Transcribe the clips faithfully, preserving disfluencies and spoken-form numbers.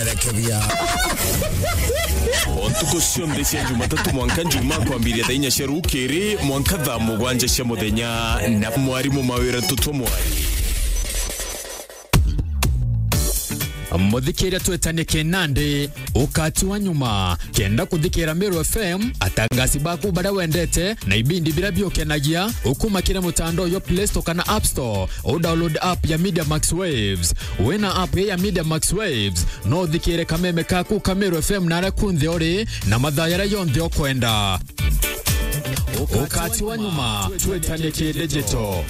Rekebia. O ntuku cionthe cia Jumatatu mwanka Njumaa, kwambiria thaa inya cia rukiri mwanka thaa mugwanja cia muthenya, na mwarimu Mawira Tutwa Mwari. Muthikiria, twetanie kinandi, ukati wa nyuma. Kenda kuthikira Meru F M, atangazi baku baria wendete, na ibindi biria biukenagia, ukuma kiri mutandao jwa Play Store kana App Store, u download app ya Media Max Waves. Wina app ya Media Max Waves, no uthikire kameme kaku ka Meru F M naria kunthe uri, na mathaa jaria jonthe ukwenda. Ukati wa nyuma, twetanie ki digital.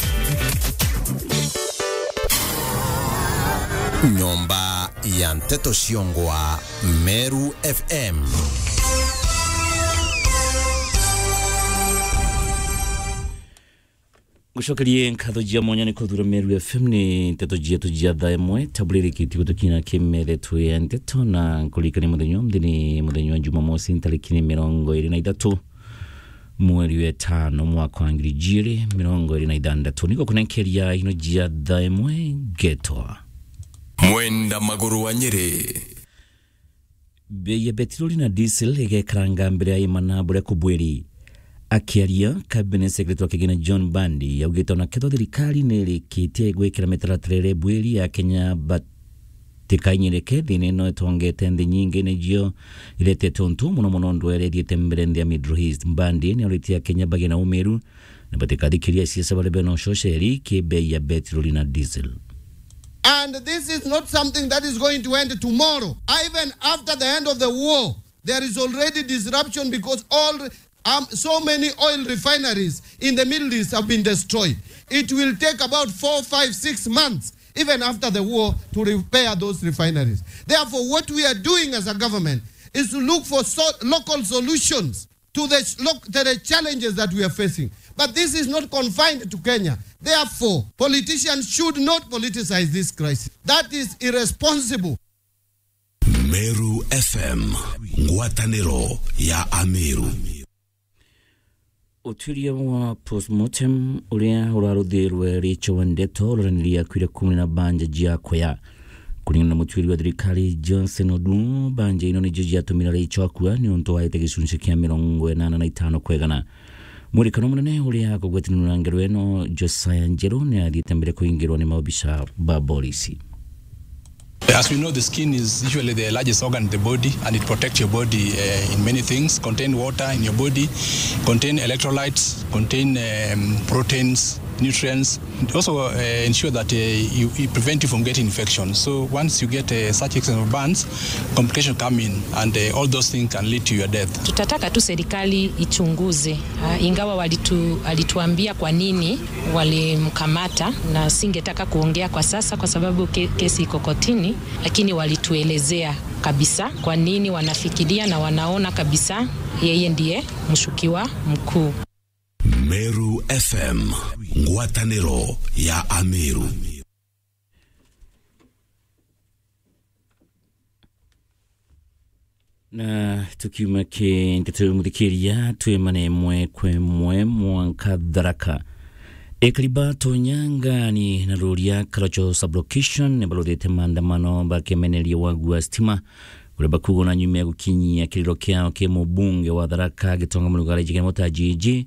Nyomba ya nteto ciongwa, Meru F M. Ngucokerie nkatho cia mwanya ni kuthura Meru F M. Ni nteto cietu cia thaa imwe, tabu ririkitie gutukina kimeretwe ya nteto, na nkuririkania muthenya uyu ni muthenya wa Jumamosi, ntariki ni mirongo iri na ithatu, mweri wa itano, mwaka wa ngiri ijiri mirongo iri na ithanthatu. Niko kunenkeria ino cia thaa imwe, ngetwa Mwenda Maguru wa Nyeri. Bei ya petroli na diesel igekaranga mbere ya imana buria kubwiri. Akiaria, Cabinet Secretary wa Kigina John Mbadi augite ona kethwa thirikari ni irikitie gwikira mitaratara iria ibwiri, Akenya batikainyirike thiina ino itongete nthi nyingi nicio iretete untu muno muno ndwere ithiite mbere nthi ya Middle East. Mbadi ni auritie Akenya bagie na umiru na batikathikiria siasa baria bena ucoceri ki bei ya petroli na diesel. And this is not something that is going to end tomorrow. Even after the end of the war, there is already disruption because all, um, so many oil refineries in the Middle East have been destroyed. It will take about four, five, six months, even after the war, to repair those refineries. Therefore, what we are doing as a government is to look for so-, local solutions to the sh-, loc-, to the challenges that we are facing. But this is not confined to Kenya. Therefore, politicians should not politicize this crisis. That is irresponsible. Meru F M, ngwataniro ya Ameru. Utuiria wa postmortem uria uraruthirwe richo wa ndeto uroraniria kwire kumwe na banja jia kuya. Kuringana na mutuiri wa thirikari Johnson Odu, banja ino nijo jiatumire richo akua ni untu waete gicunci kia mirongo inana na itano kwa igana. Mwirikano munene uria akugwetanirwa na ngero ino, Josiah Njeru, ni athiite mbere kuingirwa ni maobisa ba borisi. As we know, the skin is usually the largest organ in the body, and it protects your body, uh, in many things. Contain water in your body, contain electrolytes, contain, um, proteins, nutrients. It also, uh, ensure that, uh, you, it prevent you from getting infections. So once you get, uh, such excess of burns, complications come in, and, uh, all those things can lead to your death. Tutataka tu serikali ichunguze, ah, ingawa walitu-, alituambia kwa nini walimkamata, na singetaka kuongea kwa sasa kwa sababu ke-, kesi iko kotini, lakini walituelezea kabisa kwa nini wanafikiria na wanaona kabisa yeye ndiye mshukiwa mkuu. Meru F M, ngwataniro ya Ameru. Na tukiuma ki nteto muthikiria, twimane imwe kwa imwe mwanka Tharaka. Ekari ba Tonyangani na Ruria Karacho Sublocation ni baruthite maandamano bakemeneria wagu wa stima, kuria bakuuga na nyuma ya gukinyia kiriro kiao ki mubunge wa Tharaka Gitonga Murugara Njikene Mutajiji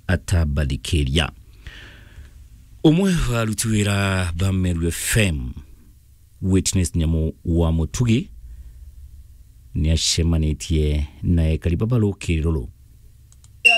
atabathikiria. Umwe wa aruti wira ba Meru F M, Witness Nyamu wa Mutugi, ni acemanitie na ekari baba rukiri ruru